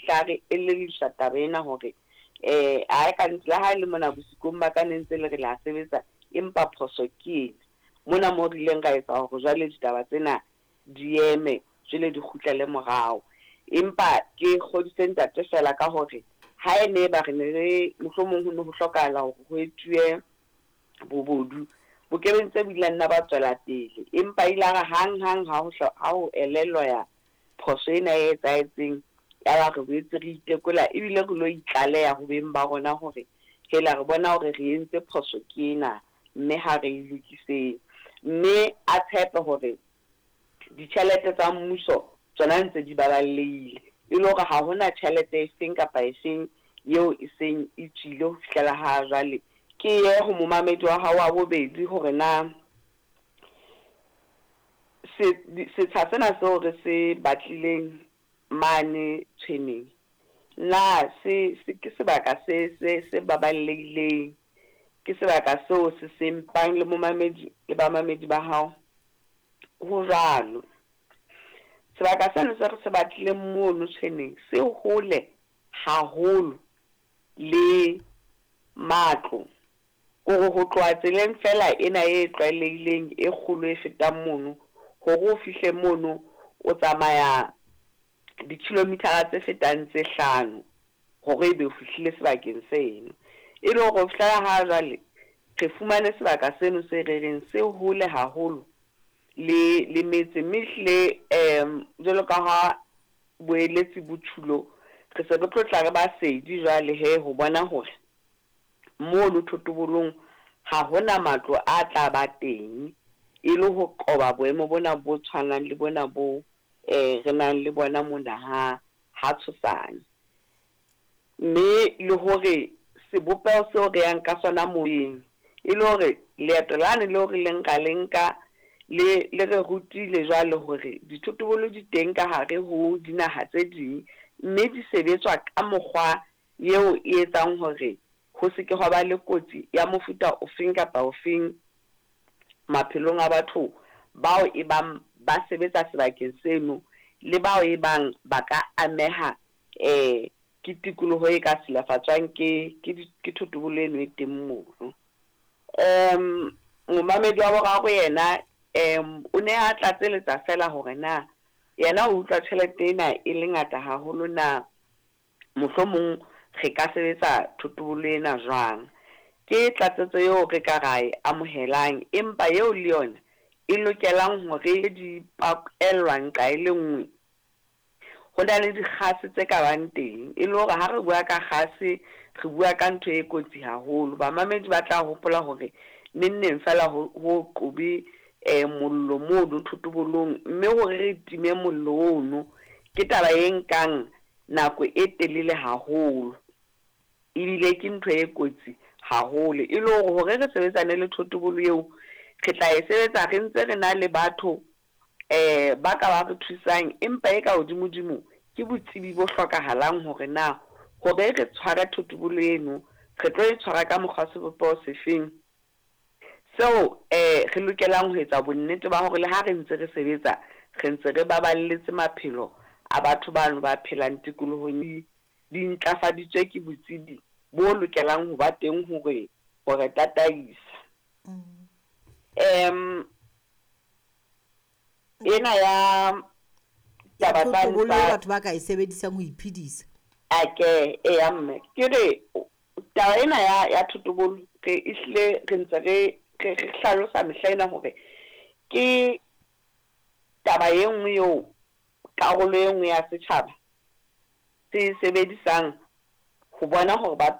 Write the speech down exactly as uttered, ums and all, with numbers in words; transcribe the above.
fihla re elelliswa taba ena hore eh a ka ntle ha le mona bosikong ba ka ne ntse le re la sebetsa, empa phoso ke ena. Mona mo re ileng ra etsa hore jwale ditaba tsena di eme, jwale di kgutlele morao. Empa ke kgodise ntate fela ka hore ha e ne ba re ne re mohlomong ho ne ho hlokahala hore ho etsuwe bobodu, bokebeng tse bo ile nna ba tswela pele. Empa ile a re hang hang ha ho ha ho elellwa ya phoso ena e etsahetseng, ya ba re boetse re itekola ebile re lo itlaleha ho beng ba rona hore hela re bona hore re entse phoso ke ena, mme ha re e lokiseng. Mme a tshepe hore ditjhelete tsa mmuso tsona ntse di baballehile, e le hore ha hona tjhelete e feng kapa e feng eo e seng e tswile ho fihlela ha jwale. Ke ye ho momamedi wa hao wa bobedi hore na se setsha sena seo re se batlileng mane Tshweneng, na se se ke sebaka se se se baballehileng, ke sebaka seo se seng pang le momamedi le bamamedi ba hao? Ho jwalo. Sebaka seno se re se batlileng mono Tshweneng se hole haholo le matlo. Kore ho tloha tseleng fela ena e tlwaelehileng e kgolo e fetang mono, hore o fihle mono o tsamaya di-kilometer-a tse fetang tse hlano hore ebe o fihlile sebakeng seno. E le hore ho fihlela ha jwale re fumane sebaka seno se re reng se hole haholo le le metse, mme ehlile um jwalo ka ha boeletsi bo tjhulo, re se re tlo tla re ba sedi jwale he ho bona hore mono thotobolong ha hona matlo a tla ba teng, e le ho qoba boemo bona bo tshwanang le bona bo eh re nang le bona mona ha ha Tshosane. Mme le hore sebopeho seo re yang ka sona moyeng, e le hore leeto lane leo re leng ra le nka le le re rutile jwale hore dithotobolo di teng ka hare ho dinaha tse ding, mme di sebetswa ka mokgwa eo e etsang hore ho se ke hwa ba le kotsi ya mofuta ofeng kapa ofeng maphelong a batho bao e bang ba sebetsa sebakeng seno, le bao e bang ba ka ameha eh ke tikoloho e ka silafatswang ke ke ke thotobolo eno e teng mono. Um momamedi wa boraro yena um o ne a tlatseletsa fela hore na yena o utlwa tjhelete ena e le ngata haholo na, mohlomong re ka sebetsa thotobolo ena jwang. Ke tlatsetso eo re ka ra e amohelang, empa eo le yona e lokelang hore di pakellwa nqa e le nngwe. Ho na le dikgase tse ka bang teng, e le hore ha re bua ka kgase re bua ka ntho e kotsi haholo. Bamamedi ba tla hopola hore neng neng fela ho ho qobe eh mollo mono thotobolong, mme hore re time mollo ono ke taba e nkang nako e telele haholo, ebile ke ntho e kotsi haholo. E le hore hore re sebetsane le thotobolo eo, re tla e sebetsa re ntse re na le batho eh ba ka ba re thusang, empa e ka hodimodimo ke botsebi bo hlokahalang hore na hore re tshware thotobolo eno re tlo e tshwara ka mokgwa sebopeho sefeng, seo eh re lokelang ho etsa bonnete ba hore le ha re ntse re sebetsa re ntse re baballetse maphelo a batho bano ba phelang tikolohong di ntlafaditswe ke botsebi bo lokelang ho ba teng hore hore tataisa. Em ena ya taba tsa batho ba ka e sebedisang ho iphedisa. Ake e ya mme ke re taba ena ya ya thotobolo re ehlile re ntse re re hlalosa mehla ena hore ke taba e nngwe eo karolo e nngwe ya setjhaba se sebedisang ho bona hore ba